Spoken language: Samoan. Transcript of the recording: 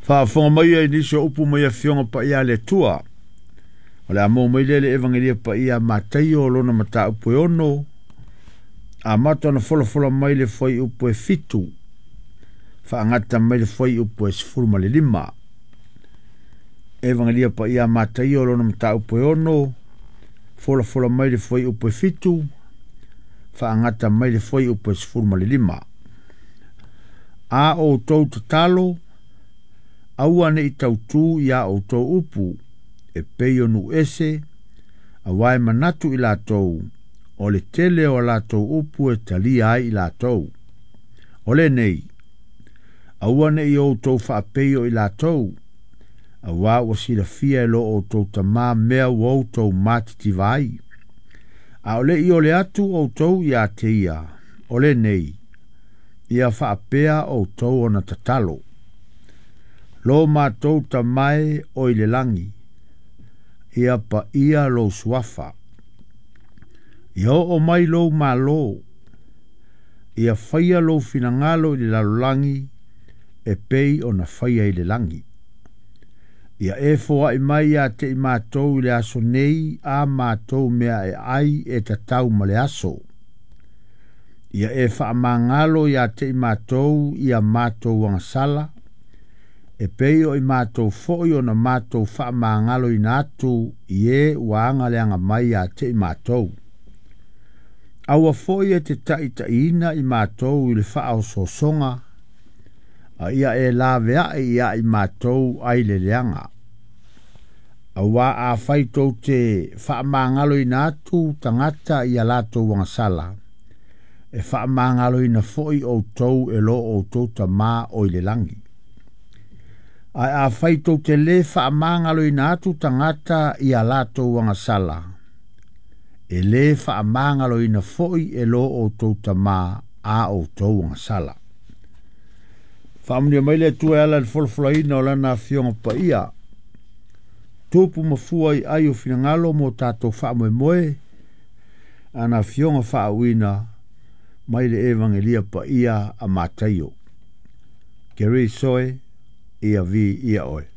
Faafofoga mai ai nisi o upu mai Afioga Paia a le Atua. O le a maua mai lea i le Evagelia Paia a Mataio lona mataupu e 6, amata ona folafola mai le fuaiupu e 7, faagata mai le fuaiupu e 15. Evagelia Paia a Mataio lona mataupu e 6, folafola mai le fuaiupu e 7, faagata mai le fuaiupu e 15. A outou tatalo, aua ne i tautū iā outou upu, e pei o nuu ese, auā e manatu i latou, o le tele o a latou upu e talia ai i latou. O lenei, aua ne i outou faapei o i latou, auā ua silafia e lo outou Tamā mea ua outou matitiva ai. A o le i ole atu outou ia te ia, o lenei, ia faapea outou ona tatalo. Lo matou Tama e o i le lagi, ia paia lou suafa. Ia oo mai lou Malo, ia faia lou finagalo i le lalolagi e pei ona faia i le lagi. Ia e foai mai ia te i matou i le aso nei a matou mea e ai e tatau ma le aso. Ia e faamagalo ia te i matou ia matou agasala, e pei o i matou foi ona matou faamagaloina atu i e ua agaleaga mai ia te i matou. Aua foi e te taitaiina i matou i le faaosoosoga, a ia e laveai ia i matou ai le leaga. Auā afai tou te faamagaloina atu tagata i a latou agasala, e faamagaloina foi outou e lo outou Tamā o i le lagi. Ae afai tou te lē faamagaloina atu tagata i a latou agasala, e lē faamagaloina foi e lo outou Tamā a outou agasala. Faamanuia mai le Atua e ala i le folafolaina o Lana Afioga Paia, tupu ma fua i ai o finagalo mo tatou faamoemoe, ana Afioga faauuina mai le Evagelia Paia a Mataio. Keriso e, ia viia oe.